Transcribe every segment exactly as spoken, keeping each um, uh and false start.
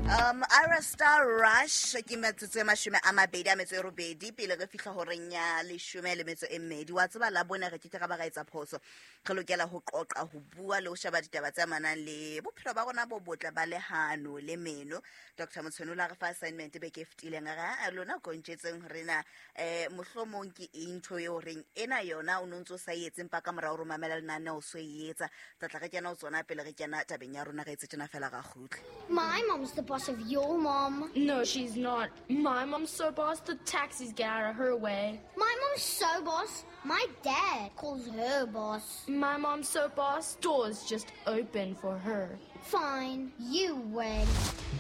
Um, Ira Star Rush ke metsotso e mashome a mabedi a metso e robedi pele re fihla horeng ya leshome le metso e mmedi. Wa tseba la bone re ke ke ra ba ra etsa phoso. Re lokela ho qoqa, ho bua le ho sheba ditaba tse amanang le bophelo ba rona bo botle ba lehano le meno. Doctor Motshwane o la re fa assignment beke e fetileng, a re, "Ah, lona ko ntjetseng hore na eh mohlomong ke eng ntho eo reng ena yona o no ntso sa e etse empa ka morao re mamela lenaneo so e etsa." Tla tla re kena ho tsona pele re kena tabeng ya rona, re etse tjena fela ra kgutla. My mom's the boss of your mom. No, she's not. My mom's so boss, the taxis get out of her way. My mom's so boss, my dad calls her boss. My mom's so boss, doors just open for her. Fine, you win.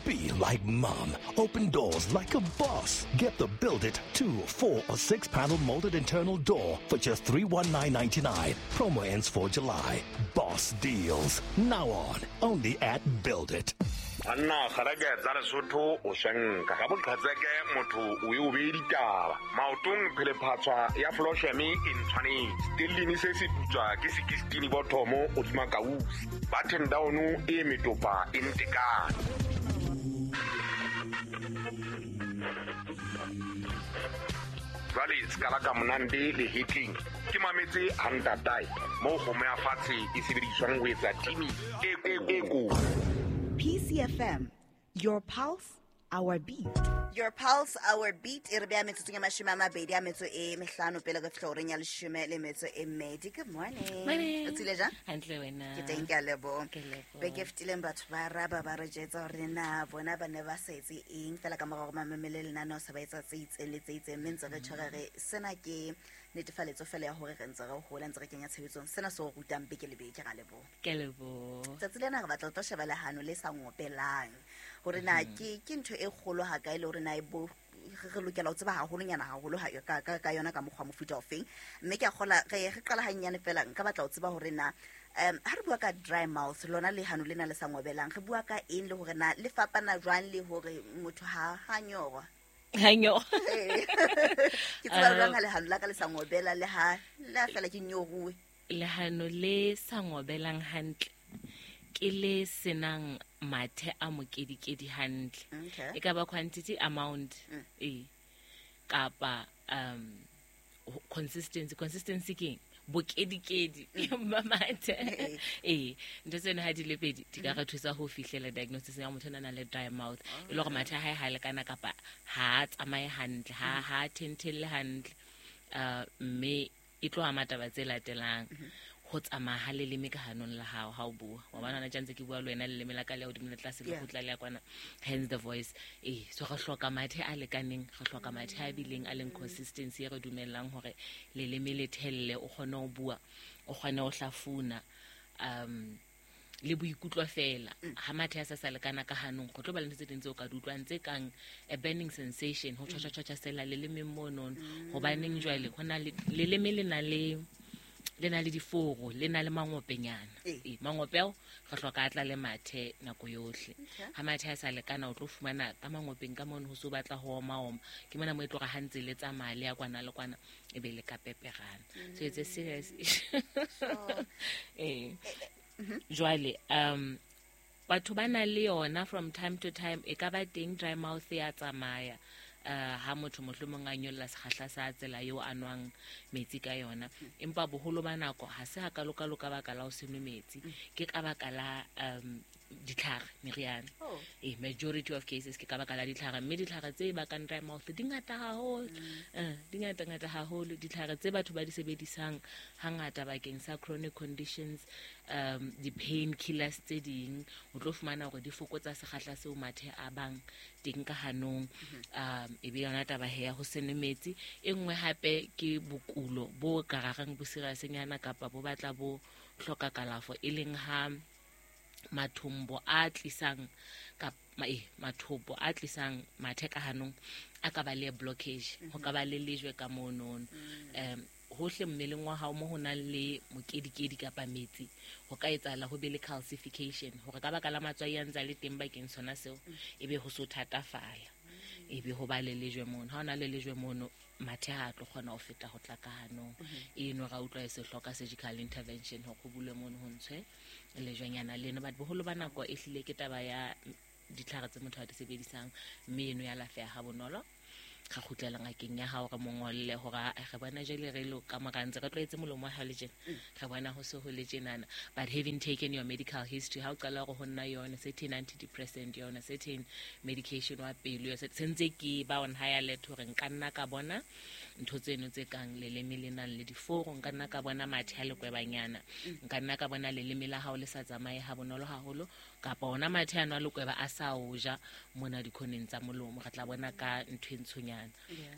Be like mom. Open doors like a boss. Get the Build It two, four, or six panel molded internal door for just three one nine ninety-nine. Promo ends for July. Boss deals. Now on. Only at Build It. Anna kgarake tsa Lesotho o shenka ga boqhetseke motho o e o bee ditaba maotong phelephatswa ya flosheme e ntshwanetse stellini se se putswa ke sixteen bothomo hodima kausi button down e metopa e ntekane. Jwale se ka la ka monande le hitling ke mametse hantatae mo kgomo ya fatshe e sebediswang ho etsa timi e e ko. P C F M, your pulse, our beat. Your pulse, our beat. E re beha metsotsong ya mashome a mabedi a metso e mehlano pele re fihla horeng ya leshome le metso e mmedi. Good morning. Morning. O tsile jang? Hantle wena. Ke teng, ke a leboha. Ke leboha. Beke e fetileng batho ba raba ba re jetsa hore na bona ba ne ba sa etse eng fela ka morao hore mamele lenaneo se ba etsa tse itseng le tse itseng, mme ntse re tshwere re sena ke netefaletso fela ya hore re ntse re hola, ntse re kenya tshebetsong sena se o rutang beke le beke. Ra leboha. Ke leboha. Tsatsi lena re batla ho tlo sheba lehano le sa ngopelang hore na ke ke ntho e kgolo ha kae le hore na e bo re lokela ho tseba haholonyana haholo ha ka ka ka yona ka mokgwa mofuta ofeng. Mme ke a kgola re re qala hanyane fela nka batla ho tseba hore na um ha re bua ka dry mouth lona lehano lena le sa ngobelang re bua ka eng le hore na le fapana jwang le hore motho ha ha nyorwa. Ha nyorwa. Ke tseba jwang ha lehano la ka le sa ngobela le ha le fela ke nyoruwe. Lehano le sa ngobelang hantle ke le senang mathe a mokedikedi hantle. Okay. E ka ba quantity amount Mm. e kapa um consistency. Consistency ke bokedikedi ba mathe. Eh, ntho tsena ha di le pedi di ka re thusa ho fihlela diagnosis ya motho a nang le dry mouth. E le hore mathe a hae ha lekana kapa ha a tsamaye hantle, ha ha thenthelle hantle. Uh, mme e tlo ama taba tse latelang. Ho tsamaya ha leleme ka hanong la hao ha o bua. Wa bona hona tjantse ke bua le wena leleme la ka le ya hodimo le tlase le Yeah. kgutla le ya kwana, hence the voice. Eh, so re hloka mathe a lekaneng, re hloka mathe a bileng a leng consistency e re dumellang hore leleme le thelle, o kgone ho bua, o kgone ho hlafuna, um le boikutlo fela. Ha mathe a sa sa lekana ka hanong, go tlo ba le ntho tse ding tseo ka di utlwang tse kang a burning sensation, ho tjhotjha tjhotjha sela lelemeng monono. Hobaneng jwale ho na le leleme le na le le na le diforo, le na le mangopenyana. Eh. Eh, mangope ao re hloka a tla le mathe nako yohle. Okay. Ha mathe a sa lekana o tlo fumana ka mangopeng ka mono ho so batla ho oma oma. Ke mona mo e tlo re ha ntse le tsamaya le ya kwana le kwana e be le ka peperana. So it's a serious issue. Eh. Jwale um batho ba na le yona from time to time, e ka ba teng dry mouth ya tsamaya. Uh, ha motho mohlomong a nyolla sekgahla sa tsela eo a nwang metsi ka yona, empa boholo ba nako ha se hakalo-kalo ka baka la ho se nwe metsi, ke ka baka la um ditlhare, meriana. Oh. Eh, majority of cases ke ka baka la ditlhare, mme ditlhare tse bakang dry mouth di ngata haholo. Eh, di ngata ngata haholo. Ditlhare tse batho ba di sebedisang hangata bakeng sa chronic conditions, um di-pain killers tse ding, o tlo fumana hore di fokotsa sekgahla seo mathe a bang teng ka hanong. Um e be yona taba he ya ho se nwe metsi. E nngwe hape ke bokulo bo ka rarang bo serious-nyana kapa bo batla bo hloka kalafo, e leng ha mathombo a tlisang ka ma, eh, mathopo a tlisang mathe ka hanong a ka ba le blockage, ho ka ba le lejwe ka monono. Um hohle mmeleng wa hao mo ho nang le mokedikedi kapa metsi, ho ka etsahala ho be le calcification, hore ka baka la matswai a ntse a le teng bakeng sona seo, ebe ho so thatafala, ebe ho ba le lejwe mono. Ha ho na le lejwe mono, mathe ha a tlo kgona ho feta ho tla ka hanong. Eno ra utlwa e se hloka surgical intervention hore ho bulwe mono ho ntshwe lejwenyana leno. But boholo ba nako e hlile ke taba ya ditlhare tse motho a di sebedisang mme eno ya alafeha ha bonolo. Ga kgutlela ngakeng ya hao re mo ngolle hore a re bona jwale re lo ka mora ntse re tlwaetse molomo wa hao le tjena, re bona ho se ho le tjenana. But having taken your medical history, ha o qala hore ho nna yona certain antidepressant, yona certain medication wa pelo, se ntse ke ba on high alert hore nka nna ka bona ntho tseno tse kang leleme le nang le diforo, nka nna ka bona mathe a lekwebanyana, nka nna ka bona leleme la hao le sa tsamaye ha bonolo haholo, kapa ona mathe ano a lekweba a sa o ja mona dikhoneng tsa molomo. Re tla bona ka ntho e ntshonyana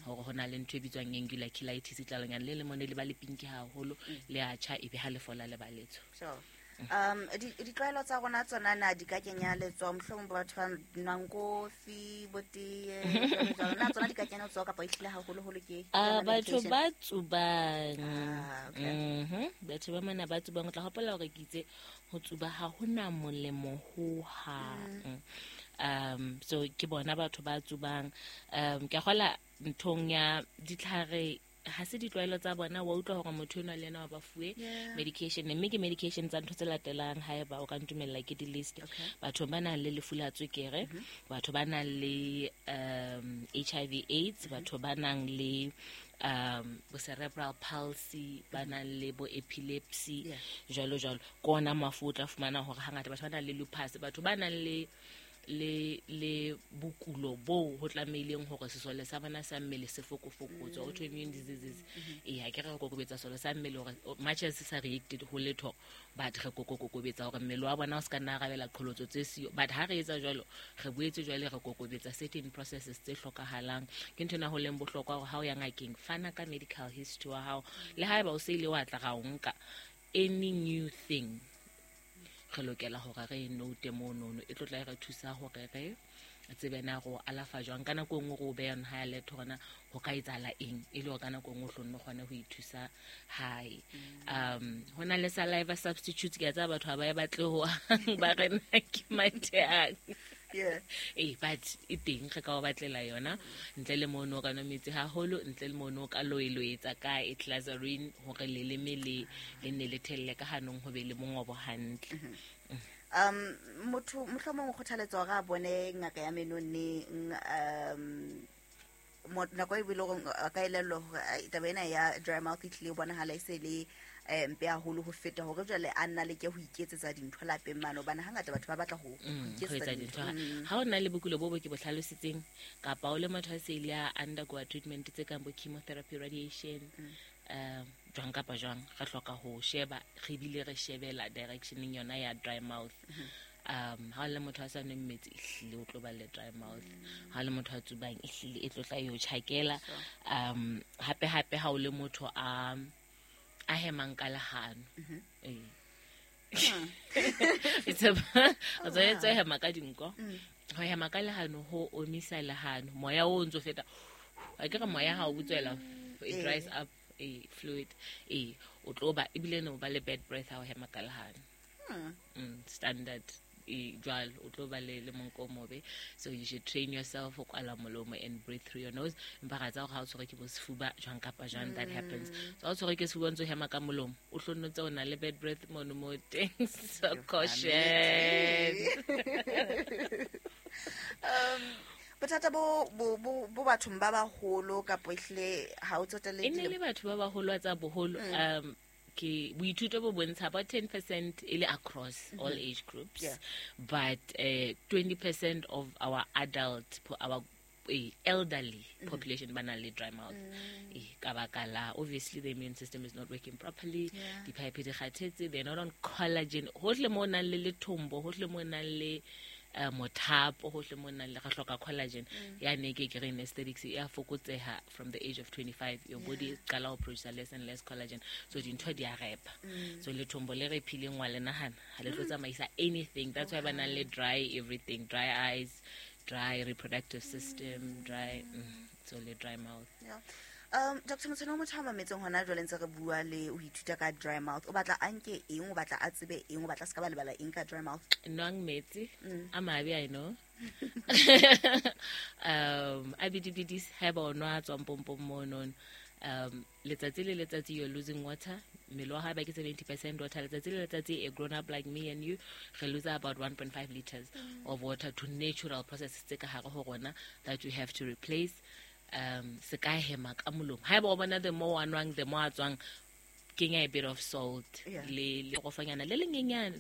hore ho na le ntho e bitswang angular cheilitis, tlalonyana le lemone le ba le pinki haholo, le a tjha ebe ha le fola le ba letsho. Sure. Um ditlwaelo tsa rona tsona na di ka kenya letsoho, mohlomong batho ba nwang kofi, bo tee, jwalo na tsona di ka kenya letsoho kapa ehlile haholoholo ke Ah, batho ba tsubang. Ah, okay. Mhm. Batho ba mana ba tsubang, o tla hopola hore ke itse ho tsuba ha hona molemo ho hang. Um so ke bona batho ba tsubang. Um ke kgola nthong ya ditlhare ha se ditlwaelo tsa bona, wa utlwa hore motho enwa le yena wa ba fuwe medication, mme ke medication tsa ntho tse latelang haeba o ka ntumella ke di-list. Batho ba nang le lefu la tswekere, batho ba nang le um H I V AIDS, batho ba nang le um bo cerebral palsy, ba nang le bo epilepsy, jwalo jwalo. Ke ona mafu o tla fumana hore hangata batho ba nang le lupus, batho ba nang le le le bokulo bo ho tlameileng hore sesole sa bona sa mmele se fokofokotswe, autoimmune diseases. Eh ha ke re kokobetsa sesole sa mmele hore much as se sa reacted ho letho, but re kokokobetsa hore mmele wa bona o se ka nna arabela qholotso tse siyo. But ha re etsa jwalo, re boetse jwale re kokobetsa certain processes tse hlokahalang. Ke ntho ena ho leng bohlokwa hore ha o ya ngakeng, fana ka medical history wa hao, le haeba o se ile wa tla ra o nka any new thing, re lokela hore re note monono, e tlo tla re thusa hore re tsebe na go alafa jwang. Ka nako e nngwe re o beha on high alert hore na ho ka etsahala eng, e le hore ka nako e nngwe o hlonne o kgone ho ithusa hae. Um ho na le saliva substitutes, ke a tseba batho ha ba e batle ho ba re na ke mathe a. Yeah. Eh, but e teng re ka o batlela yona, ntle le mono ka nwa metsi haholo, ntle le mono ka loeloetsa ka e glycerin hore leleme le le nne le thelle ka hanong ho be le mongobo hantle. Um motho mohlomong o kgothaletsa hore a bone ngaka ya meno neng, um nako e bile hore a ka elellwa hore taba ena ya dry mouth e tlile bonahala e se le mpe haholo ho feta hore jwale a nna leke ho iketsetsa dintho lapeng mane, hobane hangata batho ba batla ho iketsetsa dintho. Ha o na le bokulo bo bo ke bo hlalositseng, kapa o le motho a se ile a undergo treatment tse kang bo chemotherapy, radiation, um jwang kapa jwang, re hloka ho sheba, re bile re shebela directioneng yona ya dry mouth. Um ha le motho a sa nweng metsi, ehlile o tlo ba le dry mouth. Ha le motho a tsubang, ehlile e tlo tla yo tjhakela. Um hape hape ha o le motho a a hemang ka lehano. Eh. It's a o tshwanetse ho hema ka dinko. Ho hema ka lehano ho omisa lehano. Moya o ntso feta. A ke re moya ha o butswela, it dries up a fluid. Eh, o tlo ba ebile no ba le bad breath ha o hema ka lehano. Mm, standard e jwalo o tlo ba le le monko o mobe. So you should train yourself ho kwala molomo and breathe through your nose. Empa ra tsa hore ha o tshwere ke bo sefuba jwang kapa jwang, that happens. So ha o tshwere ke sefuba ntso hema ka molomo, o hlo ntse o na le bad breath mono mo teng. So caution. Um bothata bo bo bo bathong ba baholo kapa ehlile ha o tsotelle e ne le batho ba baholo tsa boholo, um ke boithuto bo bontsha about ten percent e le across mm-hmm. all age groups, yeah. But uh, twenty percent of our adult, our uh, elderly mm-hmm. population ba na le dry mouth. Mm. Eh, ka baka la obviously the immune system is not working properly, yeah. Dipipe di kgathetse, they're not on collagen, hohle mo nang le lethombo, hohle mo nang le uh, mothapo, hohle mo nang le re hloka collagen. Ya ne ke ke re aesthetics ya fokotseha from the age of twenty-five, your yeah. body qala ho produce less and less collagen, so dintho di a repa. Mm. So lethombo le re phileng wa le nahana ha le tlo tsamaisa anything. That's why ba nang le dry everything, dry eyes, dry reproductive system, dry mm, so le dry mouth. Yeah. Um Doctor Motshwane, motho a mametseng hona jwale ntse re bua le o ithuta ka dry mouth, o batla a nke eng, o batla a tsebe eng, o batla se ka ba lebala eng ka dry mouth? Nwang metsi a mabe, I know. Um a bidibidis haeba o nwa tswang pompong monono. Um letsatsi le letsatsi you're losing water. Mmele wa hao ba ke seventy percent water. Letsatsi le letsatsi a grown up like me and you re lose about one point five liters of water to natural processes tse ka hare ho rona that you have to replace. Um se ka hema ka molomo. Haeba o bona the more wa nwang, the more a tswang, kenya a bit of salt Yeah. le le rofanyana le lenyenyane.